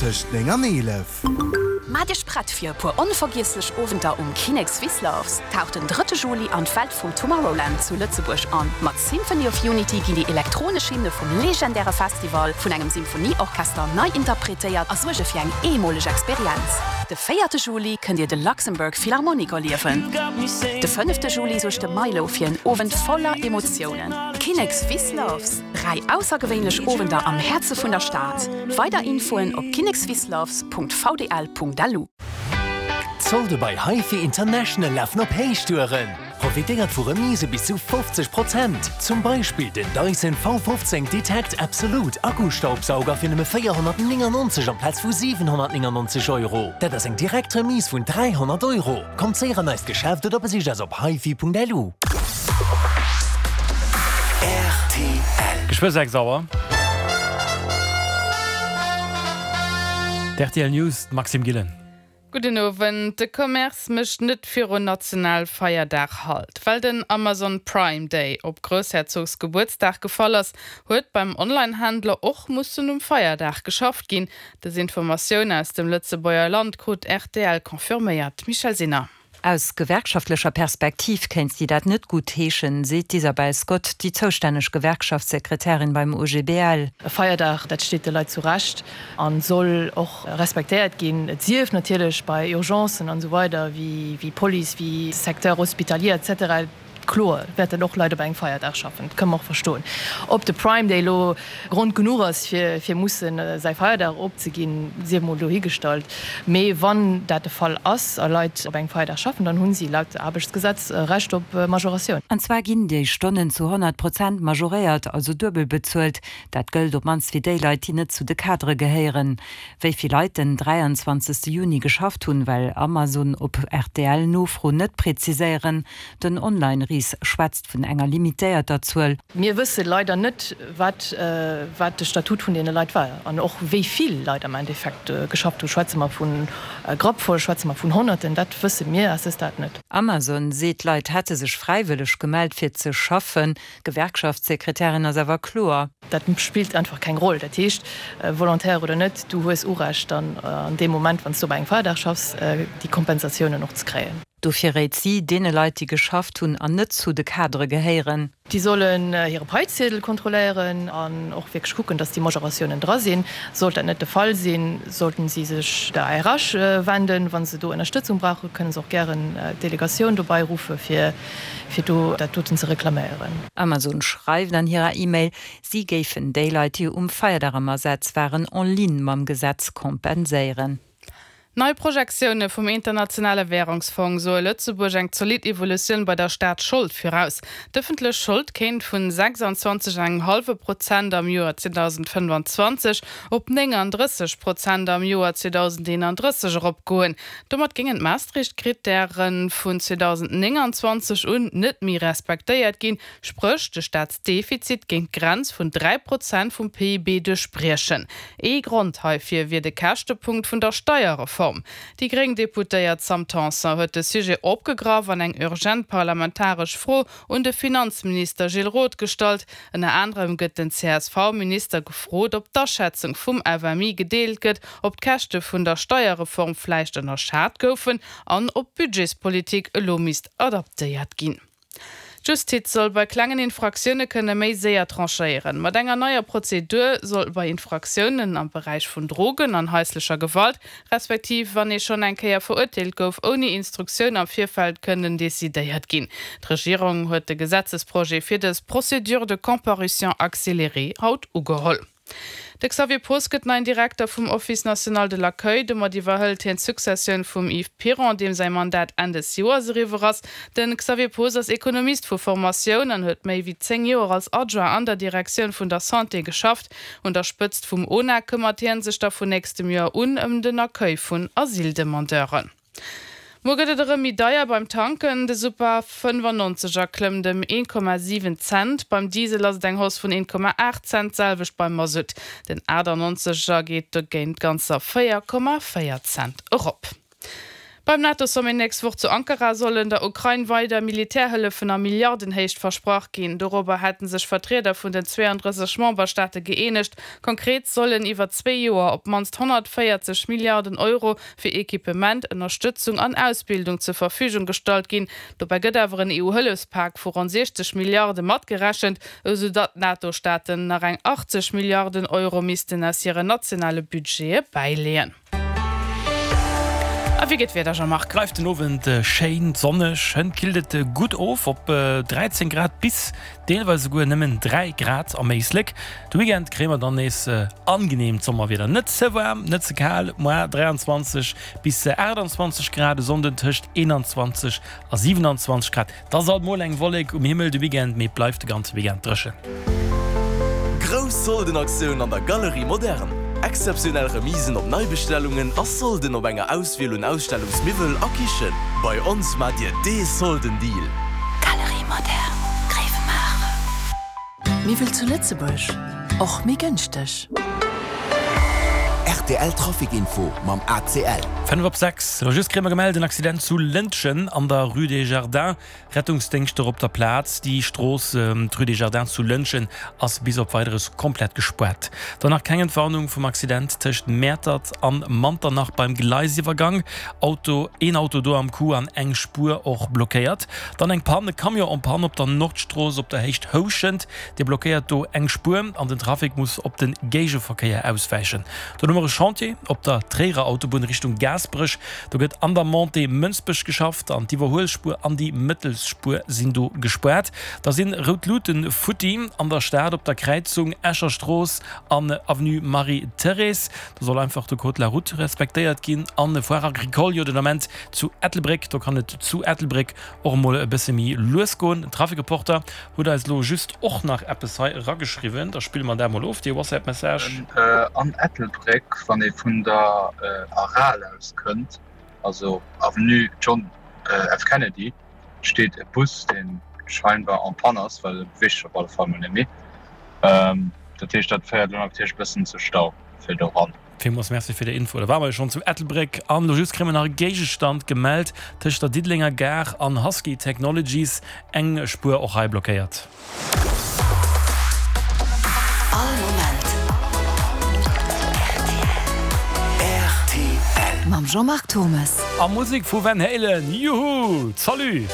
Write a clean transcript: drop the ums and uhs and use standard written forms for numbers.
Tëscht 9 an 11. Maacht Iech prett fir e puer onvergiesslech Owenter um Kinnek Swiss Loves. Taucht den drëtte Juli an d'Welt vum Tomorrowland zu Lëtzebuerg an. Mat Symphony of Unity ginn déi elektronesch Hymne vum legendäre Festival vun engem Symphonieorchester nei interpretéiert a suerge fir eng eemoleg Experienz. De véierte Juli kënnt Dir de Luxembourg Philharmonic erliewen. De fënnefte Juli suergt de Milow fir en Owend voller Emotiounen. Kinnek Swiss Loves. 3 aussergewéinlech Owender am Häerze vun der Stad. Weider Infoen op kinnekswissloves.vdl.lu. D'Solde bei HiFi International lafen op Héichtouren! Profitéiert vu Remise bis zu 50 Prozent! Zum Beispill den Dyson V15 Detect Absolute Akkustaubsauger fir nëmme 499 amplaz vu 799 Euro. Dat ass eng direkt Remise vun 300 Euro! Kommt séier an eist Geschäft oder besicht eis op hifi.lu. Rtl. Geschwë 6 Auer. D'RTL News, d'Maxime Gillen. Gudden Owend. De Commerce mécht net virun Nationalfeierdag Halt. Well den Amazon Prime Day op Groussherzogsgebuertsdag gefall ass, huet beim Onlinehändler och mussen um Feierdag geschafft ginn. Dës Informatioun aus dem Lëtzebuerger Land krut rtl confirméiert. Michèle Sinner. Aus gewerkschaftlecher Perspektiv kéint si dat net gutt heeschen, seet d'Isabel Scott, déi zoustänneg Gewerkschaftssekretärin beim OGBL. E Feierdag, dat steet de Leit zu Recht a soll och respektéiert ginn. Et sief natierlech bei Urgencen an esou weider wéi Police, wéi Secteur hospitalier et cetera. Kloer wäerten och Leit op engem Feierdag schaffen, dat kënne mer och verstoen. Ob de Prime Day elo Grond genuch ass, fir musse säi Feierdag opzeginn, sief emol dohigestallt. Mee wann dat de Fall ass a Leit op engem Feierdag schaffen, dann hu si laut Aarbechtsgesetz Recht op Majoratioun. An zwar ginn déi Stonnen zu 100 Prozent majoréiert, also duebel bezuelt. Dat gëllt op mannst fir déi Leit, déi net zu de Kadere gehéieren. Wéi vill Leit den 23 Juni geschafft hunn, well Amazon op RTL-Nofro net präziséieren. Den Online-Ris schwätzt vun enger limitéierter Zuel. Mir wësse leider net, wat wat de Statut vun deene Leit war an och wéi vill Leit am Endeffekt geschafft hunn. Schwätze mer vu Grappvoll, schwätze mer vun Honnerten? Dat wësse mir à ce stade net. Amazon seet, d'Leit hätte sech fräiwëlleg gemellt fir ze schaffen. D'Gewerkschaftssekretärin ass awer kloer. Dat spillt einfach keng Roll. Dat heescht, Volontaire oder net, du hues Urecht dann an deem Moment, wann s du op engem Feierdag schaffs, déi Kompensatiounen och ze kréien. Dofir réit si deene Leit, déi geschafft hunn an net zu de Kadere gehéieren. Déi sollen hire Paiziedel kontrolléieren an och wierklech kucken, dass déi Majoratiounen dra sinn. Sollt dat net de Fall sinn, sollten si sech der RH wenden. Wa se do Ënnerstëtzung brauchen, kënne se och gären d'Delegatioun dobei ruffe fir fir do dat doten ze reklaméieren. Amazon schreift an hirer E-Mail, si géifen déi Leit, déi um Feierdag am Asaz waren, en ligne mam Gesetz kompenséieren. Nei Projektioune vum Internationale Wärungsfong soe Lëtzebuerg eng zolidd Evolutioun bei der Staatsschold viraus. D'ëffentlech Schold kéint vun 26 an engem hallwe Prozent am Joer 2025 op 39 Prozent am Joer 2031 eropgoen. Domat géingen d'Maastricht-Krittäre vun 2029 un net méi respektéiert ginn, spréch de Staatsdefizit géing d'Grenz vun 3 Prozent vum PIB duerchbriechen. Ee Grond heifir wier de Käschtepunkt vun der Steierreform. Déi gréng Deputéiert Sam Tanson huet de Sujet opgegraff an eng urgent parlamentaresch Fro un de Finanzminister Gilles Roth gestallt. Ënner anerem gëtt den CSV-Minister gefrot, ob d'Aschätzung vum FMI gedeelt gëtt, ob d'Käschte vun der Steierreform vläicht ënnerschat goufen an ob d'Budgetspolitik elo misst adaptéiert ginn. D'Justiz soll bei klengen Infraktioune kënne méi séier tranchéieren. Mat enger neier Prozedur soll bei Infraktiounen am Beräich vun Drogen an haislecher Gewalt, respektiv wann ee schonn eng Kéier verurteelt gouf, ouni Instruktioun am Virfeld kënnen decidéiert ginn. D'Regierung huet de Gesetzesprojet fir dës Procédure de comparution accélérée haut ugeholl. De Xavier Poos gëtt neien Direkter vum Office national de l'accueil. Domat iwwerhëlt hien d'Successioun vum Yves Piron, deem säi Mandat Enn des Joers eriwwer ass. De Xavier Poos ass Ekonomist vu Formatioun an huet méi wéi 10 Joer als Adjoint an der Direktioun vun der Santé geschafft. Un der Spëtzt vum ONA këmmert hien sech da vun nächstem Joer un ëm den Accueil vun Asyldemandeuren. Muer gëtt et erëm méi deier beim Tanken, De Super 95 er klëmmt ëm 1,7 Cent, beim Diesel ass et eng Hausse vun 1,8 Cent, d'selwecht beim Masutt. Den 98 er geet dogéint ganzer 4,4 Cent erop. Beim NATO-Sommet nächst Woch zu Ankara sollen der Ukrain weider Militärhëllefen a Milliardenhéicht versprach ginn. Dorobber hätte sech Vertrieder vun den 32 Memberstaate gëeenegt. Konkret sollen iwwer zwee Joer op d'mannst 140 Milliarden Euro fir Equipement, Ënnerstëtzung an Ausbildung zur Verfügung gestallt ginn. Dobäi gëtt awer en EU-Hëllefspak vu ronn 60 Milliarde matgerechent, esou datt d'NATO-Staaten nach eng 80 Milliarden Euro missten aus hiren nationale Budgete bäileeën. A wéi geet d'Wieder, Jean-Marc? Bleift den Owend schéin sonneg, hënt killt et gutt of op 13 Grad bis deelweis esouguer nëmmen 3 Grad am Éislek. De Weekend kréie mer dann nees angeneemt Sommerwieder, net ze waarm, net ze kal, moar 23 bis 28 Grad, e Sonnden tëscht 21 a 27 Grad. 't ass alt mol eng Wollek um Himmel de Weekend, mee et bleift de ganze Weekend dréchen. Grouss Soldenaktioun an der Galerie Moderne! Exzeptionell Remisen op Neibestellungen a Solden op enger Auswiel un Ausstellungsmiwwel a Kichen. Bei ons maacht Dir dee Soldendeal! Galerie Moderne, Gréiwemaacher. Miwwel zu Lëtzebuerg, och méi gënschteg. Rtl Trafic Info mam ACL. 5 op 6, Elo just kréie mer gemellt, en Accident zu Lëntgen an der Rue des Jardins. Rettungsdéngschter op der Plaz. Déi Strooss, d'Rue des Jardins zu Lëntgen, ass bis op Weideres komplett gespaart. Dann nach keng Entwarnung vum Accident tëscht Mäertert an Manternach beim Gleisiwwergang. Auto, een Auto do am Coup an eng Spuer och blockéiert. Dann eng Pann, e Camion en panne op der Nordstrooss op der Héicht Houschent. Dee blockéiert do eng Spuer an den Trafic muss op de Géigeverkéier auswäichen. Dann hu mer e Chantier op der Tréierer Autobunn Richtung Gaasperech. Do gëtt an der Montée Mënsbech geschafft an d'Iwwerhuelspuer an déi Mëttelspuer sinn do gespaart. Da sinn rout Luuten futti an der Stad op der Kräizung Escher Strooss an Avenue Marie-Thérèse. Do soll einfach de Code de la route respektéiert ginn. An Foire Agricole jo den Ament zu Ettelbréck. Do kann et zu Ettelbréck och emol e bësse méi lues goen. Den Trafikreporter huet eis elo just och nach eppes hei erageschriwwen. Da spille mer dat emol of, dee WhatsApp-Message. An Ettelbréck, wann ee vun der Aral aus kënnt, also Avenue John F. Kennedy, steet e Bus, dee scheinbar en panne ass, well e beweegt sech op alle Fall mol net méi. Dat heescht, dat féiert elo natierlech e bëssen zu Stau fir do ran. Villmools Merci fir déi Info. Da ware mer jo schonn zu Ettelbréck an elo just kréie mer nach e Géigestand gemellt tëscht der Diddelenger Gare an Husky Technologies. Eng Spuer och hei blockéiert. All Moment rtl. Mam Jean-Marc Thomes. A Musek vu Van Halen, juhu! Salut!